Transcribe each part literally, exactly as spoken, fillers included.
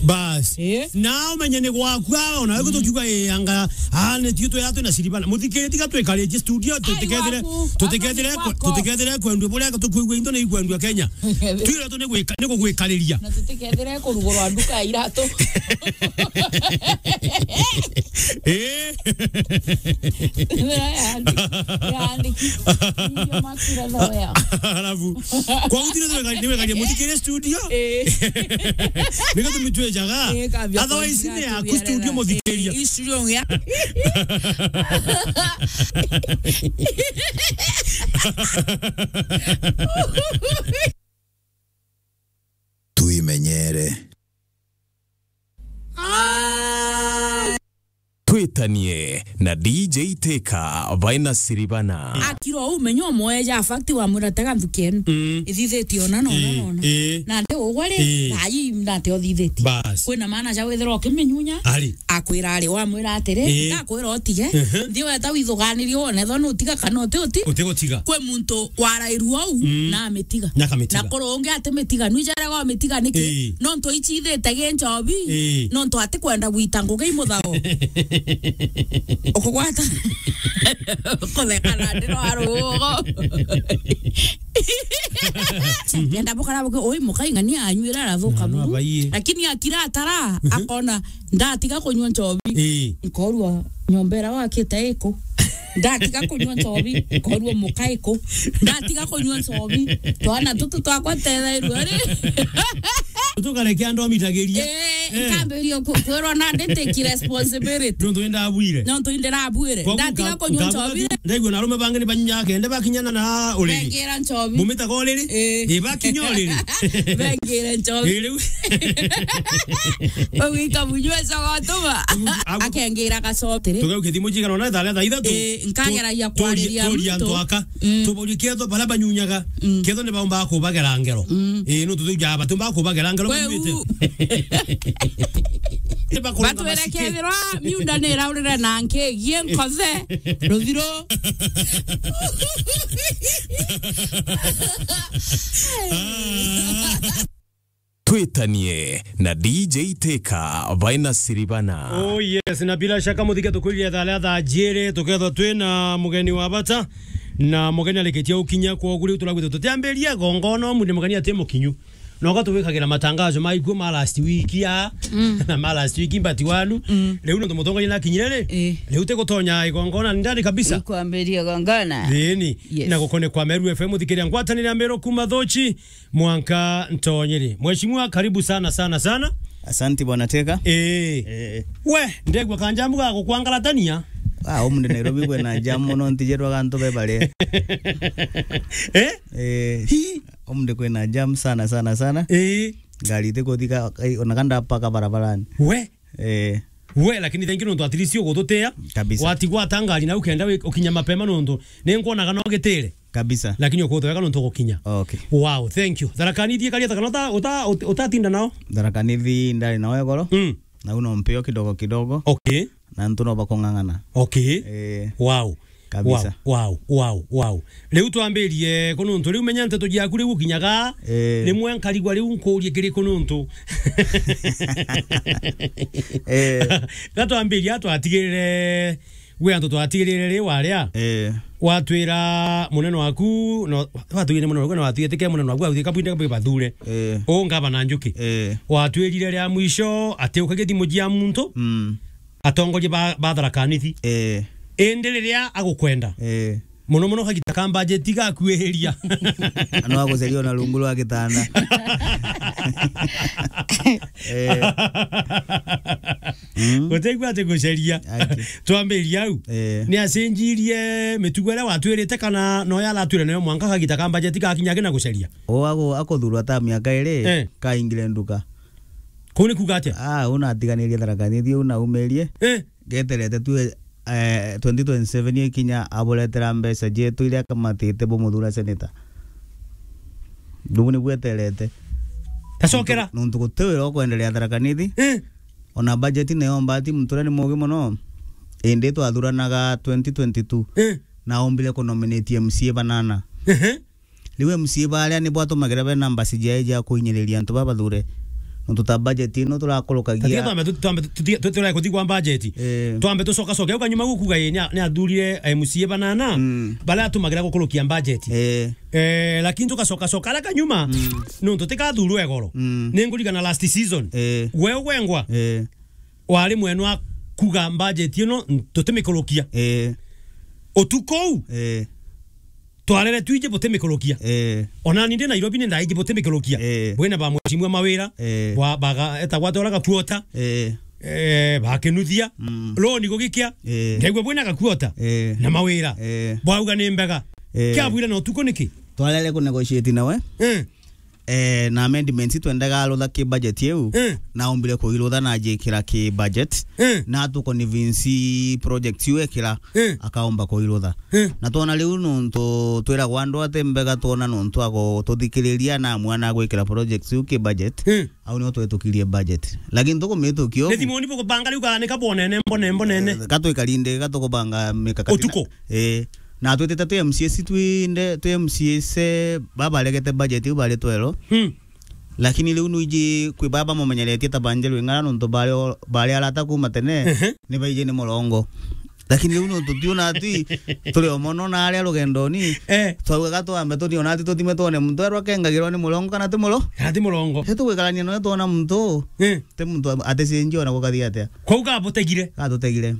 Bas. Eh? Na umenye ni gwaku, ah, ona wewe tukiuga, eh, anga, ah, ni tio twe atu na Siribana. Muthikiri tiga twikaritie studio, tutikethire, gwaku, tutikethire, anga ni gwako. Tutikethire kwendua buria tukwigua into ni ikwendua Kenya. Twire tu ni gwika-, ni kugwikariria. Na tutikethire kurugurwa nduka ya iratu. Eh? Yandi-, yandiki. Ndio makira thoya. Alafu, kwa utire tu wekari-, ni wekaria muthikiri studio. Eh. Niko tumitwejaga. Eh, kabia. Otherwise, kwa ni yaku studio muthikiri. Eh, studio ya. Twimenyere. Twitanie na D J Teka, Vaina Siribana. Akira uu, menya umweja, fact, wamwira, "Tega nthuki enu." Mm. Ithithitie ona, na ona, na ona. Ii. Na nti ugwe ri, ii, thaa ii nati uthithitie. Bas. Kwina maana ja withirwa ukiminyunya, ari, akwira ari, wamwira atiri, ii, ndakwira utige, ehe, nthi weta withuganirie wone, ethwa nutiga kana uti uti. Utigutiga. Kwi muntu warairua uu, mm, na amitiga. Na akamitiga. Na kuri ungi atimitiga. Nwijarega umitiga niki? Ii. Nontu ichithite gi nchobi. Ii. Nontu atikwenda gwita ngugi i muthao. Ukugwata. Kutheka na ndiro arugo. Kenda bukara buke, ui mukai ng'ania anyuira arathuka buru. Lakini akira atara, mhm, akona, ndatiga kunyua nchobi. Ii. Nkorua nyomba iria wakite iku. Ndatiga kunyua nchobi, nkorua muka iku. Ndatiga kunyua nchobi, twana tutu twakwa tethairua ri. Tukarekia andu amitagirie. Eh, eh, nkambiria ku-, kwirwa na nditiki responsibility. Nontu indabwire. Nontu indirabwire. Kwa ndatiga nka-, kunyua nka-, nchobi. Ndaigua na arume bangi ni banyunyaga kende bakinyana na uriri. Bengira nchobi. Bumitaga uriri? Eh. Ii, bakinya uriri. Bengira nchobi. Ii, riu. Ugika munywe cogotuma. Agu-, agu-, akengira gacotere. Tugaukia thimu cigana ona thaa thaa ithatu. Eh, nkageragia tu-, turia, kwariria turia muntu. Antu aka. Mm. Tuborie ketho baria banyunyaga. Mm. Ketho ni baumbaga kubagera ngero. Mm. Eh, no tutuja batu ba kubagera ngero. Kwe banyuite. U- Ni bakuru na batwire masike. Kethirwa miunda ni iraurire na nkigie nkothe. Ruthiro. Ah. Twitanie na D J Teka, Vaina Siribana. Oh yes, na bila shaka muthike tukuririe thaa ria thaa jiri, tukethwa twina mugeni wa bata, na mugeni arikitie gukinya, kwogu riu turagwita tutiambiria igongona, umunthi mugeni ati mukinyu. Noka tuwikagira matangazo ma ikuo ma last week ya, mm, na ma last week but wanu. Mm. Riu nontu mutongoria nakinyire ri, eh, riu tigutonya igongona ndani kabisa. Ikwambiria igongona. Thini. Yes. Na gukone kwa Meru F M, uthikiria ngwatanire ya Meru kuma Thochi mwanka Ntonyiri. Mheshimiwa, karibu sana, sana, sana. Asante, Bwana Teka. Eh. Eh. We, ndegwa kanjamu ga gukwangaratania. Ah, umunthi Nairobi kwina jamu mono, ntijerwa gantu bebare. Eh? Eh. Hi. Umunthi kwina jam sana, sana, sana. Eh. Ngari itikuthika, ai, ona kanda paka barabarani. We? Eh. We, lakini thank you nontu at least ugututia. Kabisa. Watigwa ata ngari na ukenda wi-, ukinya mapema nontu. Ni nkwonaga no gitire. Kabisa. Lakini ukuthweka nontu ugukinya. Okay. Wow, thank you. Tharaka Nithi ikaria ta kana uta-, uta-, uta-, utatinda nao? Tharaka Nithi ndari nao egoro. Mm. Na uno mpeo kidogo kidogo. Okay. Na ntu no bakung'ang'ana. Okay. Eh. Wow. Kabisa. Wow, wow, wow, wow. Riu twambirie ku nontu riu menya nteto ciaku riu ukinyaga, eh, rimwe nkarigwa riu nkurie kiri ku nontu. Eh. Gatwambiria twatigirire, gwi antu twatigirire ri waria. Eh. Watwira munene waku, no, watwirire munene waku, na watwirire tike munene waku, watwirire kabwinde kabwi bathure. Eh. U ngavana Njuki. Eh. Watwirire ria mwisho ati ukagia thimu cia muntu. Mm. Atongoria ba, ba Tharaka Nithi. Eh. Indi riria agukwenda. Eh. Muno muno kagita ka budget gakuihiria. No aguceria ona rungu rwa gitanda. Eh. Mm. Gutegwa ati guceria. Ati. Twambiria au. Eh. Ni acenjirie mitugo iria watwirite kana no ya aratwire nayo mwanka kagita ka budget gakinya akina guceria? O ago-, akuthurwa ta miaka iri, eh, kaingire nduka. Kuu ni kuuga atia? Ah, una atiganirie Tharaka Nithi, una umirie. Eh. Geterete tu, eh, twenty twenty-seven ikinya, aburetera mbeca cietu iria akamatite bumuthura senator. Riu ni bweterete. Tacokera. Nontu, nontu guti wira ukwenderea Tharaka Nithi. Eh. Ona budget nayo mbati muntu uria ni mugi muno. Indi twathuranaga twenty twenty-two. Eh. Na ombire kunominate M C A banana. Ehe. Riu M C A baria nibo atumagira bena mbasi ciae cia kuhinyiriria antu babathure. Nontu ta budget ino turakurukagia. Tatiga twambe tu-, twambe tu-, tutige, tu-, tutige kuthi kwa budget. Eh. Twambe tucokacoke. Au kanyuma gukuga ye, ni a-, ni athurire M C A banana, mm, baria atumagira gukurukia budget. Eh. Eh, lakini tugacokacoka aria kanyuma, mm, nontu tikathurwe igoro. Mm. Ni ngurigana last season. Eh. We ugwengwa. Eh. Wari mwenu wa kuga budget ino tutimikurukia. Eh. Utuku uu, eh, twarere twiji butimikurukia. Eh. Ona ni ndi Nairobi ni ndaiji butimikurukia. Eh. Bwina ba mheshimiwa Mawira, eh, bwa baga, etagwa atia uria Gakuota. Eh. Eh, bakinuthia. Mm. Roni gugikia. Eh. Ndaigua bwina Gakuota. Eh. Na Mawira. Eh. Bwauga ni mbega. Eh. Kiabwire na utuku niki? Twarere ku negotiate nawe. Eh. Eh, na amendments twendaga arutha ki budget iu, eh, na ombire kuirutha na ajikira ki budget, eh, na tukonvince project iu ekira, eh, akaomba kuirutha. Eh. Na twona riu nontu twiragwa andu ati mbega, twona nontu ago tuthikiriria na amwe na gwikira project iu ki budget, eh, au nio twetukirie budget. Lakini tukumitukio. Ni thimuni bukubanga riu kana ni kabonene, mbonene, mbonene. Eh, gatwikarinde, gatukubanga mikakati. Utuku. Eh. Na twitite twi M C As twinde, twi M C As, eh, babaregete budget iu bari twero. Hmm. Lakini riu nwiji kwi baba mumenyeretie ta Banjeru Ing'ara nontu bari o-, bari arata kuma tene, ehe, ni baiji ni murongo. Lakini riu nontu tiona ati turi o mono na aria rugendoni, eh, twaugaga twambe tuni ona ati tuthime twone muntu arwa kengagirwa ni murongo kana ti muro-, kana ti murongo. Ri tugwikarania nawe twona muntu, eh, ti muntu aticenjia ona gukathi atia. Kwou gabutegire? Gatutegire.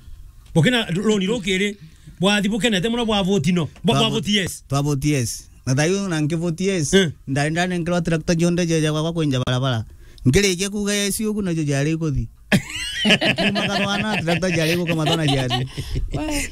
Bukina roni rukiri, bwathi bukenete muno bwa vote no. Bwa, bwa vote yes. Twa vote yes. Na thayu na nki vote yes. Eh. Ndari ndanenkerwa tractor jonde jeja gwakwa kwenja barabara. Nkirikia kuuga yes ugu najo jari kuthi. Kuma kathwana tractor jari guka mathwana jari. Wee.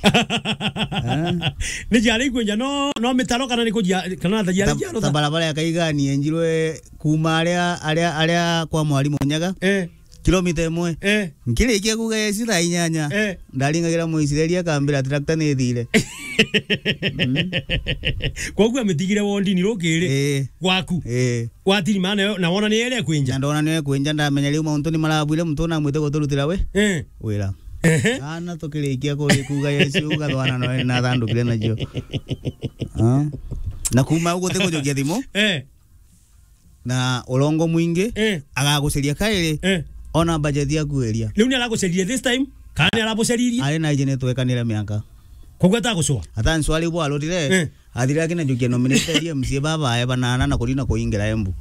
Eh? Ni jari kwenja no, no mitaro kana ni kujia, kana ta jari ta, jaro ta ta? Barabara ya Kaigani enjirwe kuma aria, aria, aria kwa Mwarimu Nyaga. Eh. Kilomita imwe. Eh. Nkirikia kuuga yes thaa inyanya. Eh. Ndaringagira Muisraeli akambira tractor ni ithire. Mm. Koguo amitigire wondini rukiri, eh, gwaku. Eh. Watiri maana yo, na wona ni ere kwinja. Na ndona ni ere kwinja, ndamenya riu mauntu ni marabwire muntu na mwite guturutira we. Eh. Wira. Ehe. Ana tukirikia kuri kuuga yes ugathwana no na thandukire nacio. Ah. Na kuma uguo tikujukia thimu. Eh. Na urongo mwingi, eh, agaguceria kairi, eh, ona budget yaku iria. Riu ni araguceririe this time, kana ni arabuceririe? Ari na iji ni twekanire miaka. Koguo atagucua? Atancua riu bwarutire, eh, athire akina jukia nominated M C A babae banana na kurina kuingira Embu.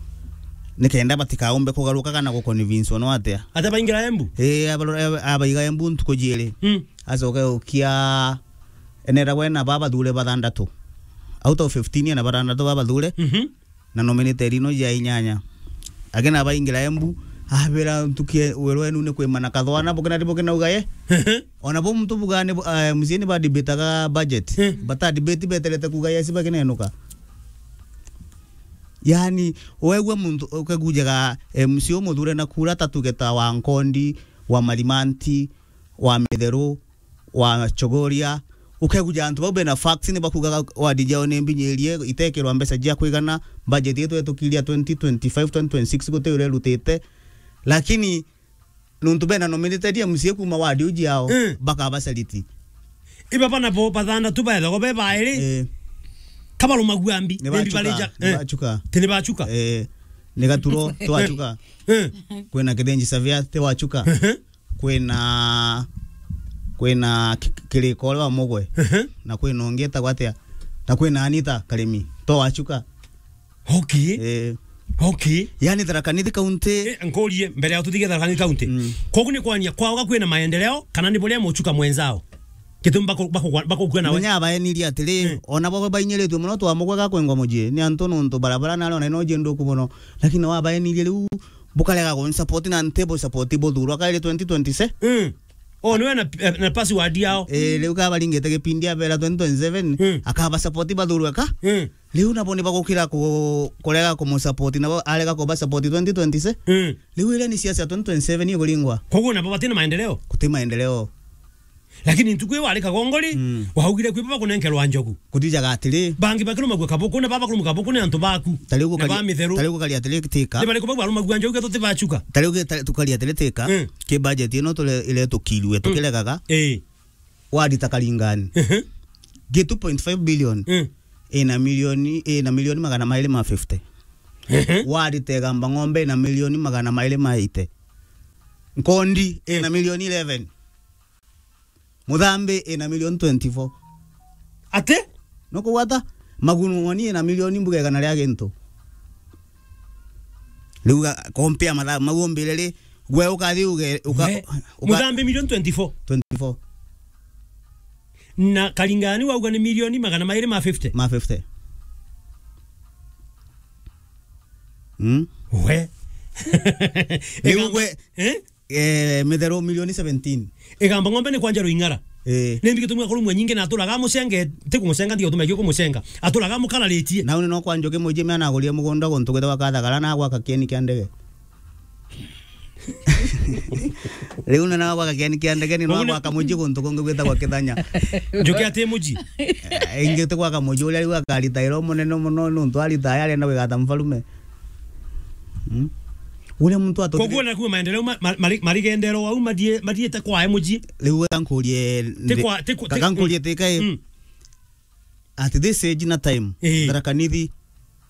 Nikenda batikaumbe kugaruka kana guconvince ono atia. Ata baingira Embu? Eh, abaro-, aba-, abaiga Embu ntuku jiiri. Mm. Acoke ukia enera we na babathure bathandatu. Out of fifteen ena bathandatu babathure. Mhm. Na nominated ino ja inyanya. Akina baingira Embu, abira ntukie wero enu ni kwimana kathwana, bukina ribo kinauga ye. Ona bo muntu bugane, eh, M C A ni ba debataga budget. Hmm. Bata debate beterete kuuga yes bakinenuka. Yani, wegua muntu ukegujaga M C A umuthure na kura ta tuge ta wa Nkondi, wa Marimanti, wa Mitheru, wa Chogoria, ukeguja antu bau bena facts ni bakugaga ward jao ni mbinyirie, itekirwa mbeca jia kwigana, budget yetu yetukiria twenty twenty-five, twenty twenty-six guti uria irutite. Lakini nontu bena nominated M C A kuma ward uji yao, mm, bakabacariti. Iba bana bo bathandatu baethagwa be bairi. Eh. Kabarumagua mbi, ni maybe bachuka, barija, ni eh, bachuka. Ti ni bachuka? Eh, ni Gaturo, ti wachuka. Eh. Kwina Kithinji Savia, ti wachuka. Ehe. Kwina, kwina Ki-, Kiriko uria wa Mugwe. Ehe. Na kwina ungi etagwa atia? Na kwina Anita Karimi. To wachuka. Okay. Eh. Okay. Yani Tharaka Nithi County. Eh, nkurie, mbere ya tutige Tharaka Nithi County. Mm. Kogu ni kwania kwao ga kwina maendeleo, kana ni buria muchuka mwenzao? Gitumi bako-, bako-, bakukua nawe. Menya abaenirie atiri, mm, ona bo bainyiritue muno twa Mugwe ga kwengwa mucii. Ni antu nontu barabara nari ona ino jinduku muno. Lakini no abaenirie riu bukarega kunsupport na ntibusupport buthurwa kairi twenty twenty-seven. Mm. Oh, niwe na, na password yao. Eh, riu kabaringite gipindi abera twenty twenty-seven, mm, akabasupport bathurwe ka. Mm. Riu nabo ni bagukira ku-, kurega kumusupport, nabo arega kubasupport twenty twenty-seven. Mm. Riu iria ni siasa ya twenty twenty-seven ikuringwa. Koguo nabo batina maendeleo? Guti maendeleo. Lakini ntuku iyo wari Kagongori, mm, waugire kwi baba kunenkerwa njogu. Kuthijaga atiri. Bangi bakirumagua kabuku, na baba kurumagua kabuku ni antu baku. Ta riu na gukari-, ba Mitheru. Ta riu gukari atiri tika. Ni bariku bau barumagua njogu tuti bachuka? Ta riu ge-, ta-, tukari atiri tika. Mm. Ki budget ino tule-, iretukirue, mm, tukiregaga. Eh. Wadi ta Karingani. Mhm. Gi two point five billion. Mm. Ina milioni, ina milioni magana mairi ma fifty. Ehe. Warita Igamba Ng'ombe ina milioni magana mairi ma eighty. Nkondi ina milioni eleven. Muthambi ina milioni twenty-four. Ati? Nukugwata? Magunu Ng'oni ina milioni mbuga igana ria gintu. Riu ga-, compare mathaa mau umbire ri, gwe ukathi uge, uka-, We, uka- Muthambi milioni twenty-four. Twenty-four. Na Karingani wauga ni milioni magana mairi ma fifty. Ma fifty. Mm? We. Riu Igamba-, gwe, eh? Eh, Mitheru milioni seventeen. Igamba Ng'ombe ni kwanja Ruing'ara. Eh. Ni mbi gitumi akorwo mwe nyingi na aturaga mucenge, ti kumucenga, ndio tume kumucenga. Aturaga mukararitie. Na uni no kwa Njuki Muji mea nagurie mugunda guntu gwitagwa Kathagara na gwaka kieni kia ndege. Riu ni na gwaka kieni kia ndege ni no Muji ni gwaka muji guntu kungi gwitagwa Kithanya. Njuki ati muji? Eh, ingi ti gwaka muji uria riu akarita iro munene muno nuntu arita aya arenda gwigata mfarume. Mm. Uria muntu atuthire- Koguo nakuo maendeleo ma-, ma-, mari-, marigendero wau mathie-, mathiete kwae muji. Riu wega nkurie Ti ndi-, kwa-, ti ku-, ti kaka ku-, nkurie tika i-, mm. At this age na time, Ii. Tharaka Nithi,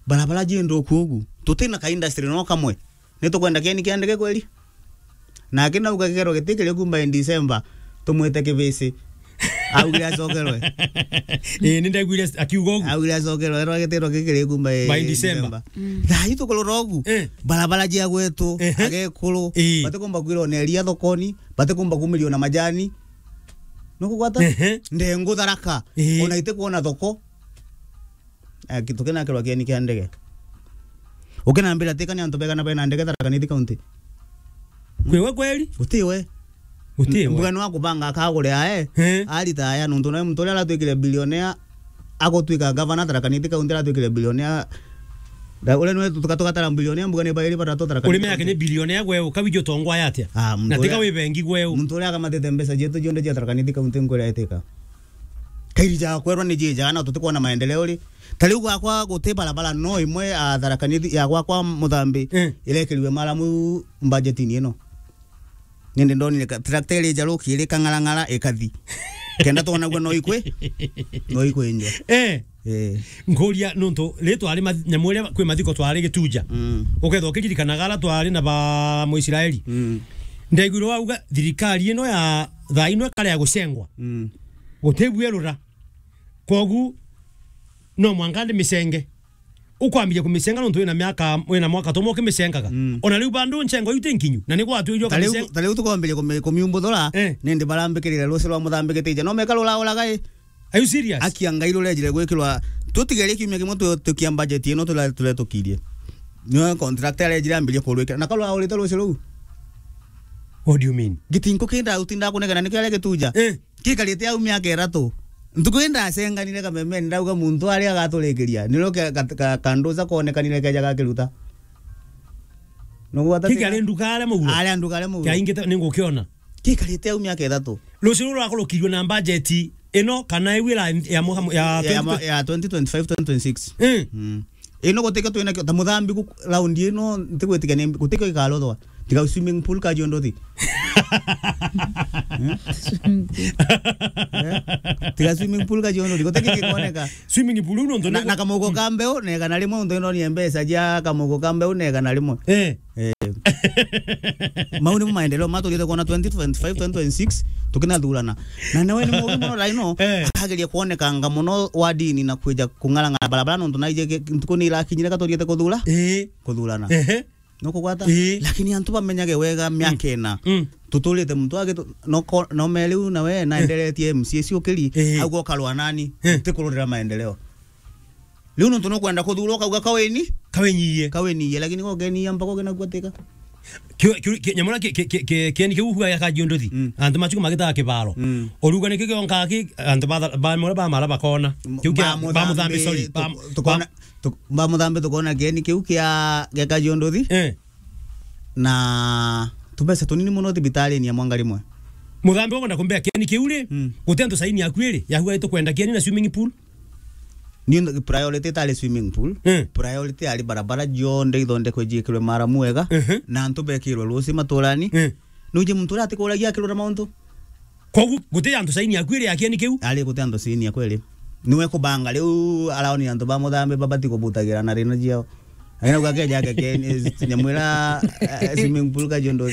barabara ji nthuku ugu. Tutina ka industry no kamwe. Ni tukwenda kieni kia ndege kweli? Nake nauga gikero giti kiri kumba in December, tumwite kibisi. Augire acokerwe. Ii, ni ndaiguire akiuga ugu. Augire acokerwe, erwa gitiro gikiri kumba i-, By in December. December. Mm. Thaa ii tukurora ugu, Eh. Barabara jia gwetu, Ehe. Agekuru, Ii. Batikumba kwirwa na iria thokoni, batikumba kumirio na majani. Nukugwata? Ehe. Ndengu Tharaka, Ii. Ona itikwona thoko. Eh, ki-, tukinakirwa kieni kia ndege. Ukinambira tika ni antu begana bena ndege Tharaka Nithi County? Kwiwe kweli? Gutiwe. Gutiwe. Mbuga ni wa kubanga akagure ae. Eh. Arita aya nuntu nawe muntu uria aratwikire billionaire agutwika gavana Tharaka Nithi County aratwikire billionaire. Da, uria niwe tuka-, tugatara billionaire mbuga ni bairi batatu Tharaka Nithi County. Uri mea yake ni billionaire gweu, kawi jo tongwa atia? Ah, muntu Na tika uria, wi bengi gweu. Muntu uria akamatite mbeca cietu cionthe cia Tharaka Nithi County nkwira etika. Kairi ja kwerwa ni jija, na tutikwona maendeleo ri. Ta riu gwakwa guti barabara no imwe, a, Tharaka Nithi ya gwakwa Muthambi, Eh. Irekiriwe maramu budgetini ino. Nindi ndonire ka-, tractor iri jaruki iri kang'arang'ara ikathi. Kenda twonagua no ikwi, no ikwinjwa. Eh. Eh. Nkuria nuntu ri twari math-, nyamu iria kwi mathiko twari Gituja. Mm. Ukethwa ukiririkanaga ara twari na ba Muisraeli. Mm. Ndaiguire wauga thirikari ino ya thaa ino ikare ya gucengwa. Mm. Guti bwerura. Kogu, no mwanka ndi micenge. Ukwambiria kumicenga nontu wina miaka, wina mwaka tumwe ukimicengaga. Mm. Ona riu bandu ncengo iu ti nkinyu, na ni gwatuirio Ta riu, ukamicenga. Ta riu tukwambiria kumi-, kumiumbuthura, Eh. Nindi barambikirire ruci rwa Muthambi Gitija. No meka rurauraga i? Are you serious? Akia Ngai rurejire gwikirwa, tutigerie kiumia kimwe tu-, tukia budget ino tule-, tuletukirie. Niwe contractor arejire ambirie kurwikira. Na karuraurite ruci ruu? What do you mean? Gitinko kinda utinda kunegena nikio aria Gituja. Eh. Gikarite au miaka ithatu. Ntuku ii ndacenganire kamemeni, ndauga muntu aria agaturikiria. Nirio ke-, ka-, ka-, kanduca konekanire keja gakiruta. Nugwata Kiki tina? Ari nduka aria muguro? Aria nduka aria muguro. Kia ingite ningukiona. Gikarite au miaka ithatu. Rucio ruru rwakurukirwe na budget ino kana iu ira ya muha-, ya Ya twenty twenty? Ya twenty twenty-five, twenty twenty-six. Eh. Mm. Ino gutikio twina kio, ta Muthambi gu-, round ino, ntigwitikia ni, gutikio ikarothwa. Tiga swimming pool ka jiondothi. Eh? Eh? Tiga swimming pool ka jiondothi. Gutikio gikoneka. Swimming pool ino ndo Na, na kamugo ka mbeu, na igana rimwe, untu ino ni mbeca ja kamugo ka mbeu, na igana rimwe. Eh. Eh. Mau nimo maendeleo maturite kuona twenty twenty-five, twenty twenty-six, tukinathurana. Na nawe ni mugi muno raino, Eh. Akageria kuonekanga muno wa dini na kwija kung'arang'ara barabara, nontu naije ge-, ntuku ni irakinyire ka turiite kuthura? Eh. Kuthurana. Ehe. Nukugwata? Eh. Lakini antu bamenyage wega miaka Mm. ina. Mm. Tuturite muntu agi tu-, no ko-, no meriu nawe naenderetie M C A ciukiri, Eh. Au ukarwa nani? Eh. Tikururira maendeleo. Riu nontu nukwenda kuthurwa ukauga kaweni? Kawenyie. Kawenyie, lakini gokenia mpaka ugenagua tika. Kio, kio, ki-, nyamura ki-, ki-, ki-, ki-, kieni kiu huga ya kajiondothi. Mm. Antu machuku magitaga kibaro. Mm. Uruga nikio kionka ki, antu ba, ba, ba, ba mara bakona. Kiu kia, ba Muthambi, sorry. Ba, tu-, tukona, ba, tu-, ba Muthambi tukona kieni kiu kia, kia kajiondothi. Eh. Na tubeca tunini muno thibitarini ya mwanga rimwe. Muthambi ukwenda kumbea kieni kiu ri, Mm. guti antu saini yaku iri, ya huga itukwenda kieni na swimming pool. Ni priority itari swimming pool. Eh. Priority ari barabara jonthe ithondekwe jiikirwe maramu wega, Ehe. Na antu bekirwe ruci maturani. Eh. Nuje muntu uria atikuragia akirura mauntu. Kogu, guti antu saini yaku iri ya kieni kiu? Ari guti antu saini yaku iri. Niwe kubanga riu araoni antu ba Muthambi babati kubutagira na rina jiao. Aina kwa keja ke, ke, ni, nyamwira, eh, swimming pool ka jondo.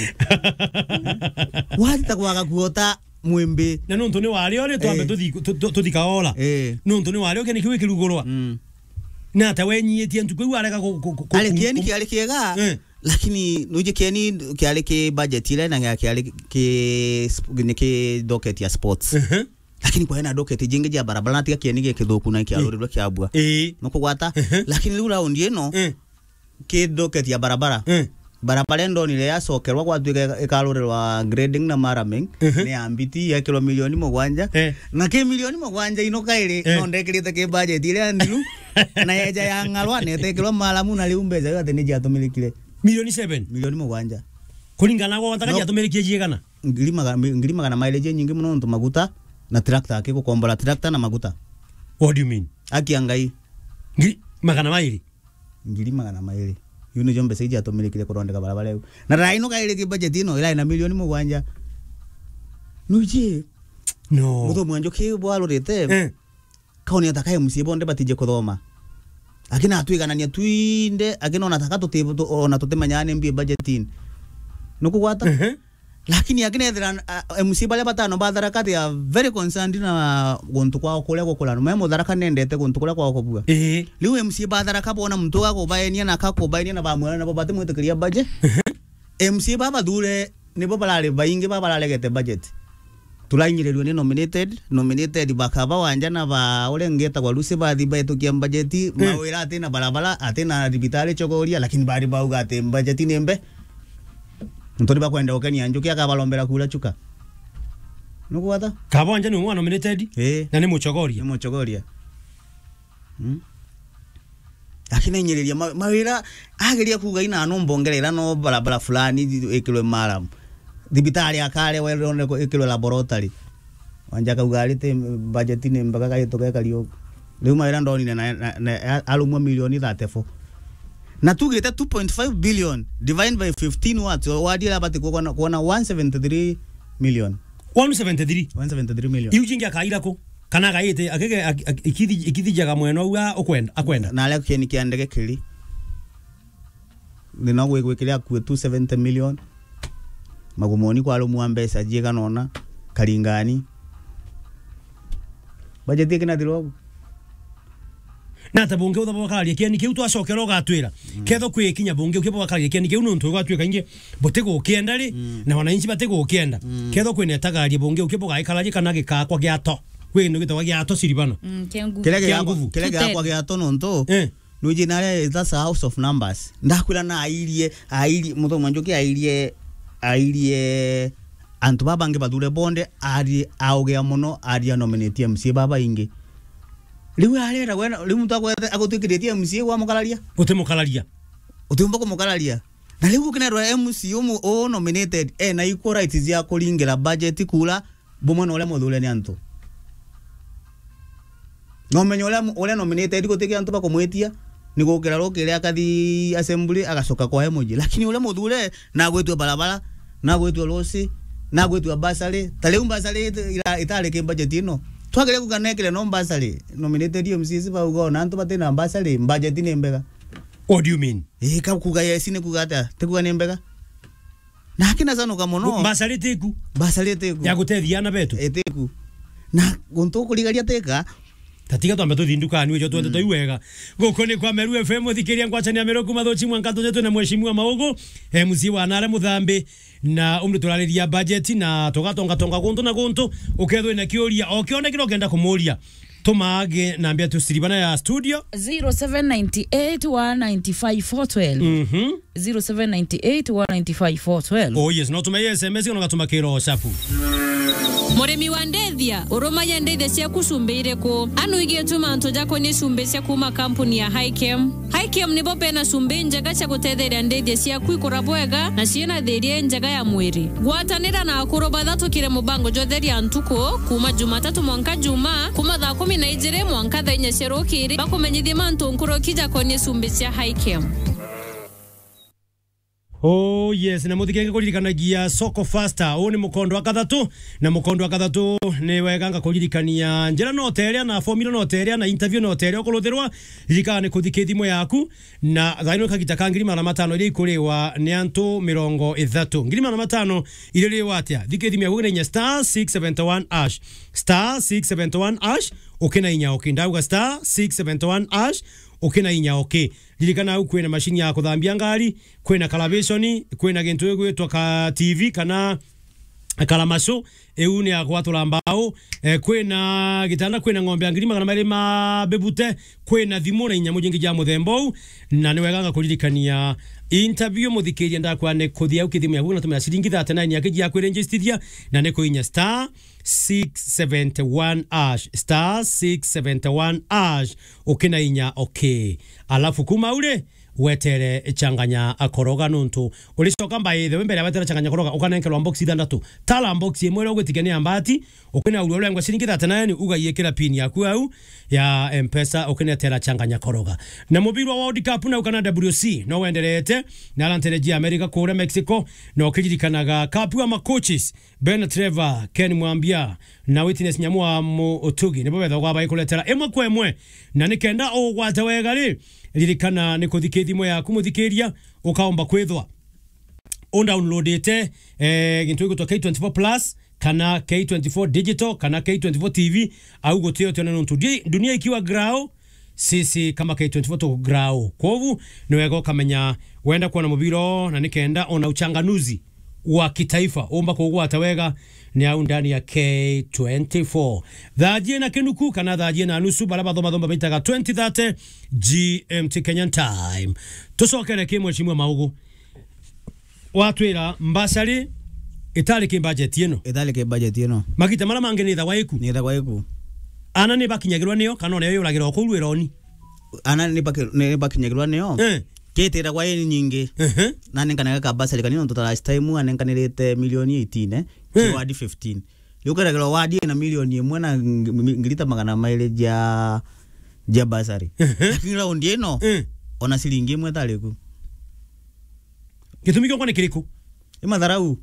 Wati ta kwaga kuota mwimbi. Na nontu ni wari ori twambe Eh. tuthi, tu-, tu-, tuthika ola. Eh. Nontu ni wari oke ni kiu kirugurwa. Mm. Na ta wenyiitie ntuku iu arega ku-, ku-, ku-, Ari ku-, kieni ku- kiari kiega, Eh. lakini nuje kieni kiari ki budget ile na kiari ki sp-, ni ki docket ya sports. Ehe. Lakini kwa ena docket jingi ja barabara na tiga kieni gi kithuku na kiarurirwe kiabua. Ii. Nukugwata? Ehe. Lakini riu round ino, Eh. ki docket ya barabara. Eh. Barabara ndonire yacokerwa gwatuika ika-, ikarurirwa grading na maraming, Mhm. ni ya mbiti yekirwa milioni mugwanja. Eh. Na ki milioni mugwanja ino kairi, Eh. no ndekirite ki budget iria nthiru, na yeja ya ng'arwa, na itekirwa maramu, na riu mbeca iu ati ni jiatumirikire. Milioni seven? Milioni mugwanja. Kuringana na gwa gutaka No. jiatumirikie jiigana? Ngiri maga-, mi-, ngiri magana mairi ji nyingi mono nontu maguta na tractor akigukombora tractor na maguta. What do you mean? Aki ya Ngai. Ngiri magana mairi? Ngiri magana mairi. Iu nijo mbeca iji atumirikire kurondeka barabara iu. Na rai no kairi ki budget ino, irai na milioni mugwanja. Nuji? No. Muthomi wa Njuki bwarurite, Eh. kaoni ata ka M C A bonde batije kuthoma. Akina atwiganania twinde, akina ona taka tuti-, tu-, ona tutimenyaa ni mbi budgeting. Nukugwata? Ehe. Lakini akina ethira, a, M C A baria batano ba Tharaka, they are very concerned na guntu kwao kuria gukura. Me Mutharaka nendete guntu kuria kwao kubua. Ii. Riu M C A ba Tharaka bona muntu gakubaenia na kakubaenia na bamwira nabo batimwitikiria budget. Ehe. M C A ba bathure nibo barari baingi ba bararegete budget. Turainyirirue ni nominated, nominated bakaba wanja na ba uria ngetagwa Lucy bathi baitukia budget, Eh. mawira ati na barabara, ati na thibitari chogoria, lakini bari bauga ati budget ni mbe. Nturi bakwenda ukenia Njuki akabarombera kura chuka. Nugwata? Kaba wanja ni umwe wa nominated? Eh. Na ni muchogoria? Ni muchogoria. Hmm? Akinainyireria ma-, mawira, ageria kuuga ina no mbongerera no barabara fulani ikirwe maram. Thibitari akare werone ikirwe laboratory. Wanja kauga ari ti budget ni mbaga gaito gekari ugu. Riu mawira ndonire na, na, na, a-, arumwa milioni thirty-four. Na tugite two point five billion divide by fifteen watts, wadi ira bati kuona, kuona one seventy-three million. One seventy-three? One seventy-three million. Iu jingi akaira ku? Kana agaite, akige, ak-, ak-, ikithi-, ikithijaga mwena uu a-, ukwenda, akwenda? Na aria kieni kia ndege kiri. Thina gwi-, gwikire akue two seventy million. Magumoni kwarumwa mbeca jiigana ona, Karingani. Budget ikinathirwa ugu. Na ata bungi utha bwakararia kieni kiu twacokera ugatwira. Mm. Ketho kwi kinya bungi uki bwakararia kieni kiu nontu gwatuika ingi butigukienda ri, Mm. na wananchi batigukienda. Mm. Ketho kwina itagaria bungi uki bugaikararia kana gikakwa giato. Kwi kindu gitagwa giato siribana. Mm, kia nguvu. Kiria Kia gigakwa, nguvu. Kiria Footed. Gigakwa giato nontu, Eh. nuji naria, that's a house of numbers. Ndakwira na airie, airie, Muthomi wa Njuki airie, airie antu baba bangi bathure bonde, ari augea mono, ari anominate M C A baba ingi. Riu arera we, riu muntu akwete, agutwikiritie M C A wa mukararia? Utimukararia. Utiumba kumukararia. Na riu ukinetwa M C A umu, u nominated, ena equal rights cia kuringira budget kura bumwe na uria muthure ni antu. Na umenye uria, uria nominated gutikia antu bakumwitia, ni gukira rukiri akathi assembly, agacoka kwa emoji. Lakini uria muthure, na agwitwe barabara, na agwitwe rosi, na agwitwe bursary. Ta riu bursary ita-, ira-, itari ki budget ino. Twagire kuga nekire no bursary, nominated M C As bauga ona antu batina bursary, budget ni mbega. What do you mean? Ii, ka kuga yes ni kuga atia? Ti kuga ni mbega? Na akina canuka mono. Mbasari tiku. Mbasari tiku. Ya gutethia ana betu. Itiku. Na guntu ukurigaria tika. Tatiga twambe tuthi ndukani, wijo twende Mm. twi wega. Guku ni kwa Meru F M, thikiria ngwacania Meru kuma Thuchi mwanka tunye twina Mheshimiwa Maugu, M C wa Nare Muthambi, na umri turariria budget na tugatonga tonga guntu na guntu, ukethwe na kiuria, o kione kira ukenda kumuria. Tuma age namba yetu siribana ya studio. Zero seven nine eight one nine five four twelve. Mhm. Zero seven nine eight one nine five four twelve. Oh yes, no tume S M S kana ugatuma kiro WhatsApp. Murimi wa ndethia, urumagia ndethia ciaku cumbi iriku? Anu igietuma antu jakonie cumbi cia kuma kampuni ya Hikem. Hikem nibo bena cumbi njega cia gutetheria ndethia ciaku ikura bwega na ciina thiria njega ya mwiri. Gwatanira na akuru bathatu kiri mubango jwa Theria Ntuku, kuma Jumatatu mwanka Juma, kuma thaa kumi na ijiri mwanka thaa inya cia rukiri, bakumenyithie mantu nkuruki jakonie cumbi cia Hikem. Oh yes, na muthikenge kuririkanagia Soko Faster. Uu ni mukondo wa kathatu, na mukondo wa kathatu ni wega nga kuririkania njira no teria, na formula no teria, na interview no teria ukuruthirwa. Ririkana ni kuthika thimu yaku, na thaino kagita ka ngiri magana matano iria ikuriwa ni antu mirongo ithatu. Ngiri magana matano iririwa atia? Thika thimu yaku na inya star six seventy one hash. Star six seventy one hash, ukina inya okay. Ndauga star six seventy one hash, ukina inya okay. Ririkana au kwina mashini ya kuthambia ngari, kwina kalavishoni, kwina gintu gigwitwa ka T V kana kalamaco, iu ni ya gwatura mbao, eh, kwina gitanda, kwina ng'ombe ya ngiri magana meri ma bebute, kwina thimu na inyamu jingi ja muthemba uu, na ni wega nga kuririkania interview muthikiria ndakwa ni kuthia au kithimu yaku na tumira ciringi thirty nine yaki jia kwirinjistithia, na ni kuinya star six seventy one hash, star six seventy one hash, ukina inya okay. Alafu kuma uri, wetere changanya koroga nuntu uricoka mbaithe we mbere ya wetera changanya koroga, ukanenkerwa box ithandatu. Tala box imwe iria ugwitikia ni ya mbati, ukina uria urengwa ciringi thirty nine, ugaiikira pin yaku au ya Mpesa, ukinetera changanya koroga. Na mubirwa wa World Cup na ukana W C no wenderete na arantereji America kuria Mexico, na ukiririkanaga cup wa macoaches Ben Trevor, Ken Mwambia na Witness Nyamu wa Mutugi nibo bethagwa baikuretera imwe kwa imwe, na nikenda ugwate wega ri, ririkana ni kuthika thimu yaku muthikiria, ukaomba kwithwa undownloadite, eh, gintu gigwitwa K twenty four plus kana K twenty four digital kana K twenty four T V, au gutio tiona nuntu di-, dunia ikiwa grao, sisi kama K twenty four tuko grao. Kwogu ni wega ukamenya wenda kuona mubira na nikenda ona uchanganuzi wa kitaifa umba kugwata wega ni au ndani ya K twenty four. Thaa jie na kinuku kana thaa jie na nusu, bara bathoma thomba bitaga twenty thirty G M T Kenyan Time. Tucokere ki Mheshimiwa Maugu. Watwira mbasari itari ki budget ino. Itari ki budget ino. Magita mara mangi ni ithagwa iku. Ni ithagwa iku. Ana ni bakinyagirwa niyo, kana ona yo yuragira o kuu rwironi? Ana ni baki-, ni bakinyagirwa niyo. Eh. Kitiragwa i nyingi. Ehe. Na nenkanaga ka bursary kanini, nontu ta last time anenkanirite milioni eighteen, eh, Eh. Kiwadi fifteen. Riu keragirwa wadi ina milioni imwe na ng-, ng-, ngiri ta magana mairi ja, ja bursary. Ehe. Lakini round ino, Eh. ona ciringi imwe itari ku. Gitumi kiongwa ni kiriku? I matharau.